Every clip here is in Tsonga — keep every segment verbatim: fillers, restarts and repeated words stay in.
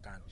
hlakana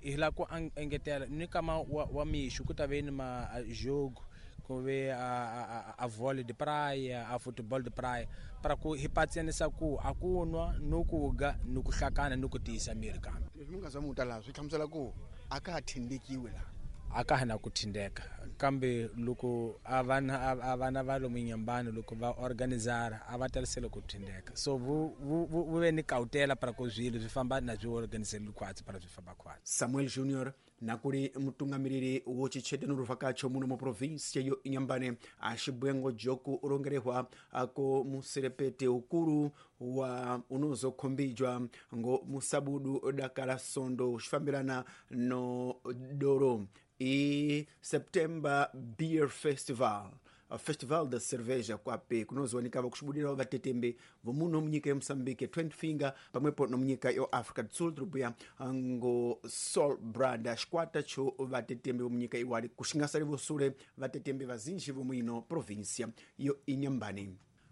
hi la ku engetela ni kama wa, wa mixo ku ta ve ni ma jogo ku ve a, a, a vôlei de praia, a futebol de praia, para ku hi patsenisa ku a ku nwa no ku ga no ku hlakana no ku tiyisa miri kambe leswi mi nga zama u ta laha swi hlamusela ku a ka ha thindekiwi laha a ka ha na ku thindeka kambe loko a vana a vana va lomu Inhambane loko va organizara a va talisele ku thindeka so vu vu vu ve ni kautela para ku swilo swi famba na swi organizele khwatsi para swi famba khwatsi. Samuel Junior nakuri mutungamiriri wo chichete nuruvhakacho muno mu provinsia yo Inhambane axibwengo joku urongerehwa ako muserepete ukuru wa unozokhombijwa ngo musabudu dakala sondo uxifambirana no doro e September Beer Festival, a Festival da Cerveja kwape kunozowanika kuxibudira vatetembe vomuno munyika ya Moçambique Twenty Finger pamwepo no munyika yo Africa do Sul trubuya ngo Sol Brada xikwata cho vatetembe vomunyika iwali kuxingasali vosule vatetembe vazinji vomuino província yo Inhambane.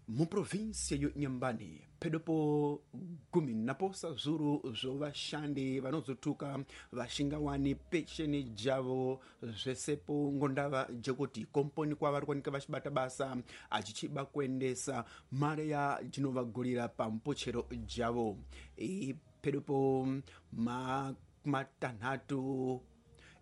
Mu província yo Inhambane pedopo gumi naposa zuru zvo vashandi vanozothuka vaxingawani pecheni javo zvesepo ngondava jekuti komponi kwa vari kuwanika vachibata basa achichiba kuendesa mare ya jinovagurira pampochero javo e pedopo matanhatu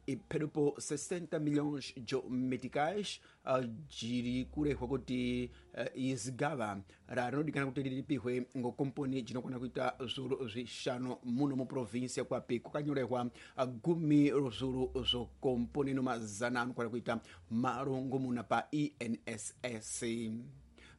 e pedopo sessenta milhões de meticais uh, jiri kurehwa kuti uh, izigava rarinodikana kuti riripihwe ngo komponi jinokwana kuita zvuru zvishanu muno muprovinsia kwapi kwakanyorehwa uh, gumi ruzuru zvo komponi no mazana anokwana kuita marongomuna pa I N S S.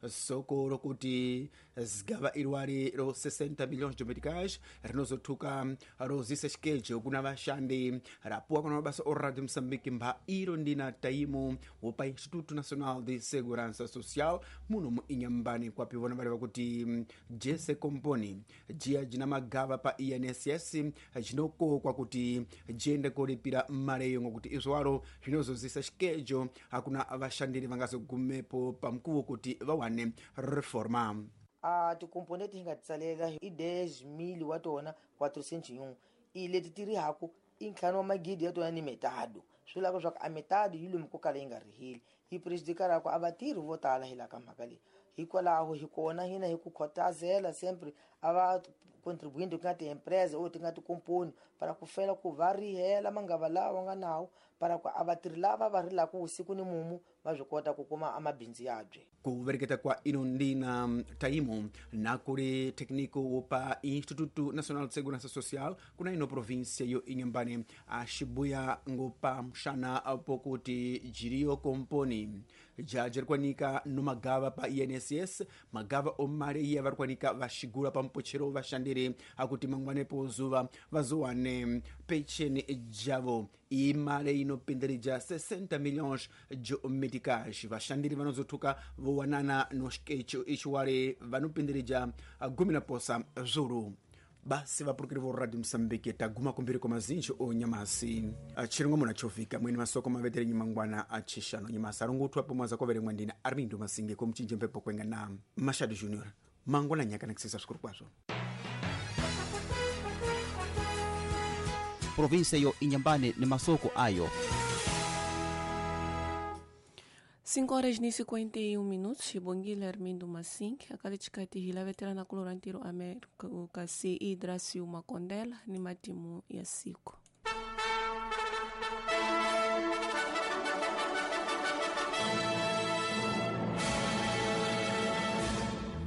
Soko rokuti zigava irwari ro sessenta milhões de meticais rinozothuka rozisa xikejo kuna vashandi rapuwa kuna mabasa o Radio Moçambique mba iro ndina taimu wopa Instituto Nacional de Segurança Social muno mu Inhambane kwapi vona vareva kuti jese komponi jiya jina magava pa I N S S jinokokwa kuti jiende koripira mareyo ngokuti izwaro zvinozozisa xikejo hakuna vashandiri vangazogumepo pamkuwo kuti vawane reforma. A tikomponente hi nga tsalela i dez mil wa tona quatrocentos e um i leti ti ri haku i ntlhanu wa magidi ya tona ni metado swi lava leswaku a metado yi lomu ko kala yi nga riheli yi prejudicar ku a vatirhi vo tala hi la ka mhaka leyi hikwalaho hi kona hina hi ku khotazela sempre a va contribuinte ku nga ti-empresa or ti nga tikomponi para ku fela ku va rihela mangava lawa nga nawo para ku a vatirhi lava va rilaka vusiku ni mumu va swi kota ku kuma amabindzu yabye. Ku vereketa kwa ino ndina taimu na kuri técnico wopa Instituto Nacional de Segurança Social kuna ino província yo Inhambane axibuya ngopa mxana pokuti jiriyo komponi jajerikwanika no magava pa I N S S magava omare iye varikwanika vaxigura pampochero vashandiri akuti mangwanepo zuva vazowane pecheni javo imare inopindirija sessenta milhões de meticais vashandiri vanozothuka vowanana no xikecho ixiwari vanopindirija gumi na posa zuru. Basi vapurukiri vo Radio Moçambique taguma kumbiri kwa mazinji o nyamasi chiringo muna chovika mwene masoko mavetere nyimangwana achishano nyamasi arungu pomwaza kwa verengwa ndina Armindo Masinge kumchinje mpepo kwenga na Machado Junior mangwana nyaka nakisisa sukuru kwazo. Província yo Inhambane ni masoko ayo. cinco horas e cinquenta e um minutos, Xibongile Armindo Massink, akali chikati hila veterana kulorantiro América kasi Idracio Makondela ni matimu ya siku.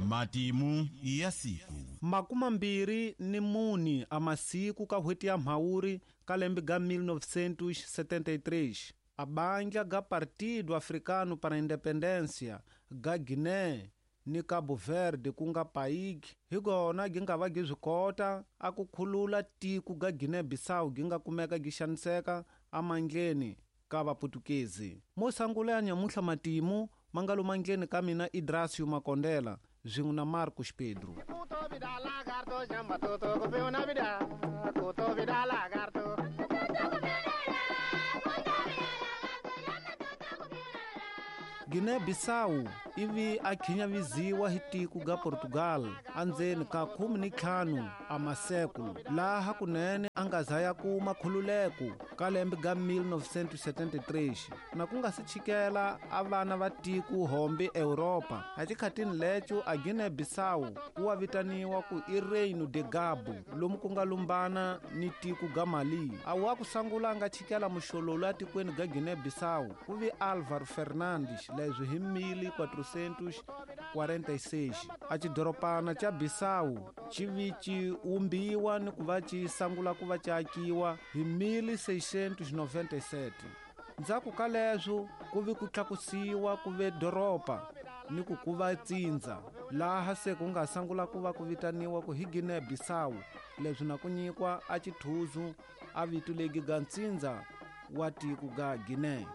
Matimu ya siku. Makuma mbiri ni muni a masiku ka hweti ya mhauri ka lembe ga mil novecentos e setenta e três. A bandla ga Partido Africano para a Independência ga Guiné ni Cabo Verde ku nga P A I G hi kona gi nga va gi swi kota a ku khulula tiko ga Guinea-Bissau gi nga kumeka gi xaniseka amandleni ka vaputukezi. Mo sangula ya nyamuhla matimu ma nga lumandleni ka mina Idracio Makondela swin'we na Marcos Pedro. Guiné-Bissau ivi a khinyaviziwa hi tiko ga Portugal andzeni ka khume ni ntlhanu a masekulu laha kunene a nga za ya kuma khululeko ka lembe ga mil novecentos setenta e três na ku nga si chikela a vana va tiko hombe Europa a xikhatini leco a Guiné-Bissau ku wa vitaniwa ku i Reino de Gabo lomu ku nga lumbana ni tiko ga Mali a wa ku sangula nga chikela muxololo atikweni ga Guiné-Bissau ku vi Álvaro Fernandes leswi hi mil quatrocentos quarenta e seis a xidoropana xa Bissau xi vi xi wumbiwa ni ku va xi sangula ku va xi akiwa hi mil seiscentos noventa e sete ndzhaku ka leswo ku vi ku tlakusiwa ku ve doroba ni ku ku va tsindza laha se ku nga sangula ku va ku vitaniwa ku hi Guiné-Bissau leswi na ku nyikwa a xithuzu a vito legi ga ntsindza wa tiko ga Guiné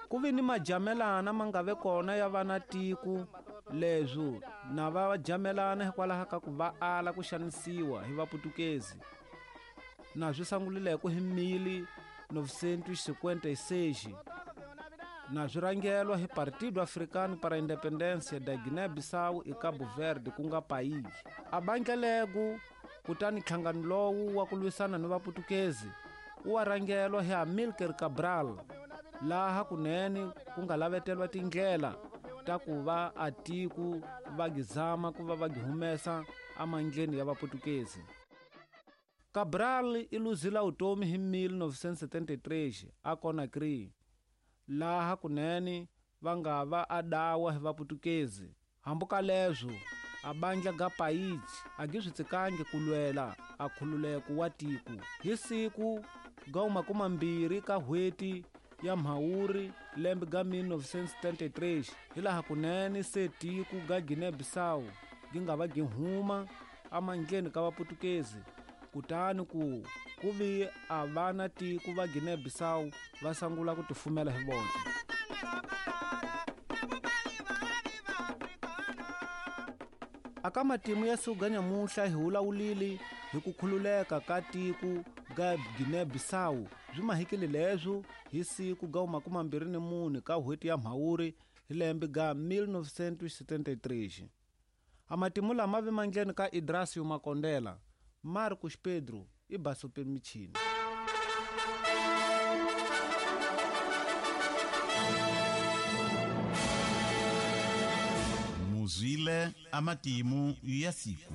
ku vi ni majamelana ma nga ve kona ya vana tiko leswo na va jamelana hikwalaho ka ku va ala ku xanisiwa hi vaputukezi na swi sangulileko hi mil novecentos cinquenta e seis na swi rhangelwa hi Partido Africano para a Independência da Guiné-Bissau e Cabo Verde ku nga PAIGC a bandlaleko kutani nhlangano lowu wa ku lwisana ni vaputukezi wu wa rhangelwa hi Amílcar Cabral laha kunene ku nga lavetelwa tindlela ta ku va a tiko va gizama ku va va gihumesa amandleni ya vaputukezi Cabral i luzila vutomi hi mil novecentos setenta e três a Conakry laha kunene va nga va a dawa hi vaputukezi hambi ka leswo a bandla ga PAIGC a gi swi tsikangi ku lwela a khululeko wa tiko hi siku ga makumambirhi ka hweti ya Mhawuri lembe ga mil novecentos setenta e três hilaha kunene se tiko ga Guiné-Bissau gi nga va gi huma amandleni ka vaputukezi kutani ku ku vi a vana tiko va Guiné-Bissau va sangula ku tifumela hi vona. Aka matimu ya siku nyamuhla hi wulawulile hi ku khululeka ka tiko ga Guiné-Bissau byi mahikile leswo hi siku ga makumambirhi ni mune ka hweti ya Mhawuri hi lembe ga mil novecentos setenta e três a matimu lama ve mandleni ka Idrasio Makondela Marcos Pedro i Basope Michini. Muzwile amatimu ya siku.